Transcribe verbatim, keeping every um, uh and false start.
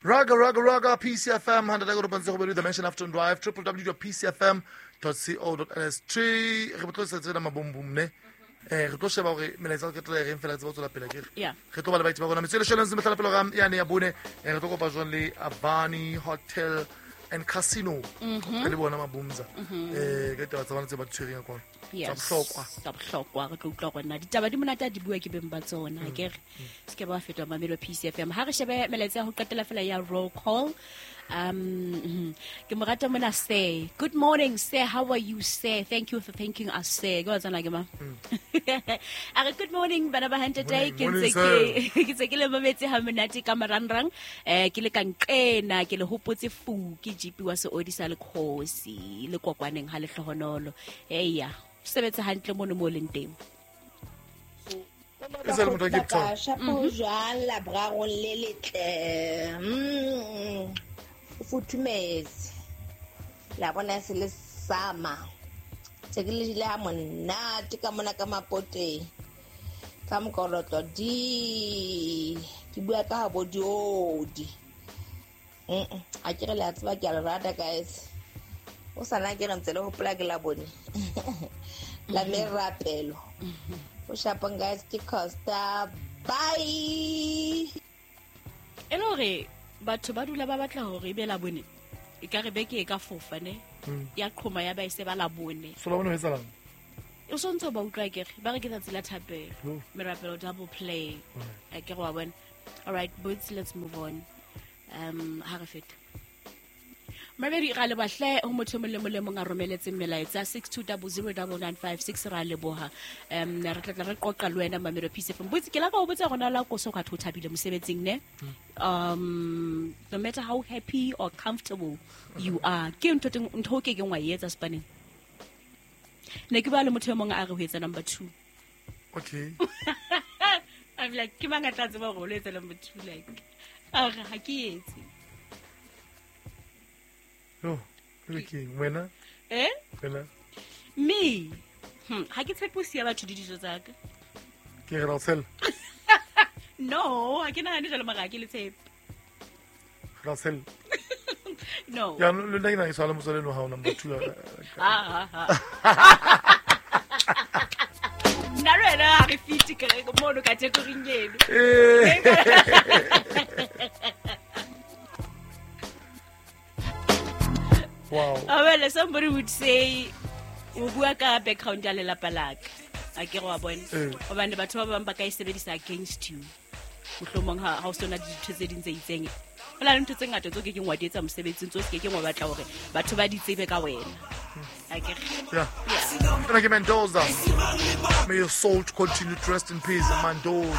Raga, raga, raga, P C F M, one hundred point seven, the Mention Afternoon Drive, w w w dot p c f m dot co dot n s. Re re tlo tsena mabombom ne. Eh re tlo sheba hore melaetsa ke tla reng fela tsebo tswela pele ke. Yeah. Re tlo ba le baeti ba rona. Metswele shelo ntse mehlala pele ga yane ya bone. Eh re tlo kopa jwang le Avani Hotel and Casino. Re le bona mabumza. Eh ka taba tsa bona tse ba di tshwereng ka kwana. Tsa Yes. bohlokwa. Tsa bohlokwa. Re tlo utlwa gore na ditaba di monate a di bua ke beng ba tsona, akere se ke ba fetwa mamelo P C F M. Ha re shebe melaetsa ya ho qetela fela ya roll call. um mhm. ke mo rata mona, sir. Good morning, sir. How are you, sir? Thank you for thanking us, sir. Ke wa tsana ke ma a re good morning, bana ba hantle. Morning, Ke ntse morning. ke ke ntse ke le mametse ha monate ka marangrang. eh ke le ka nqena, ke le hopotse fu ke G P wa seodi sa lekgosi le kokwaneng ha lehlohonolo. Eya, sebetsa hantle mono mo leng teng. E sa le motho wa Cape Town. Shapo jwang laborarong le letle. Mm, o futhumetse la bona se le sama tse ke le jele ha monate ka mona ka mapoteng ka mokorotlo di ke bua ka ha bo diodi. Mm, a ke re le a tseba ke a le rata, guys. O sana ke re ntse le hopola ke la bone la merapelo o shapang, guys. Ke Costa. Bye. E le hore batho ba dula ba batla hore ebe la bone, e ka re beke e ka fofa ne ya qhoma ya ba e se ba la bone. So la bone ho etsahalang? O sontse ba utlwa kere ba re ke tsatsi la thapelo. Oh. Merapelo double play. A ke re wa bona. All right, boots, let's move on. um ha re feta mabedi ra leboha ho motho e mong le mong le mong a romeletseng melaetsa six two zero zero nine nine five six. Ra leboha. um re tla tla re qoqa le wena mamelo P C F M. Botse ke la ka o botsa gona la koso ka tho thabile mosebetsing ne. um no matter how happy or comfortable you are, ke ntho teng ntho o ke keng wa e etsa spaneng ne ke ba le motho e mong a re ho etsa number two. Okay. I'm like, ke mang a tla tseba hore o lo etsa number two? Like, a re ha ke etse. Yo, ebe ke eng? Wena? Eh? Wena? Me, hmm, ha ke tshepe ho siya batho le dijo tsa ka. Ke re ra o tshela. No, ha ke nahane jwalo, mara ha ke le tshepe. Ra o tshela. No. Ya le nna ke na ke tshwana le motswale eno hao number two. Ah, ah, ah. Nna le wena ha re fite ke re mono category-ing eno. Eh. Wow. Ah, well, somebody would say o bua ka background ya lelapa la ka, a ke re wa bona. Eh. Hobane batho ba bang ba ka e sebedisa against you, mohlomong ha ha o sona dintho tse ding tse itseng. Ho na le ntho tse ngata tseo ke keng wa di etsa mosebetsing, tseo se ke keng wa batla hore batho ba di tsebe ka wena, a ke re. Yeah. Yeah. Ena ke Mendoza. May your soul continue to rest in peace, Mendoza.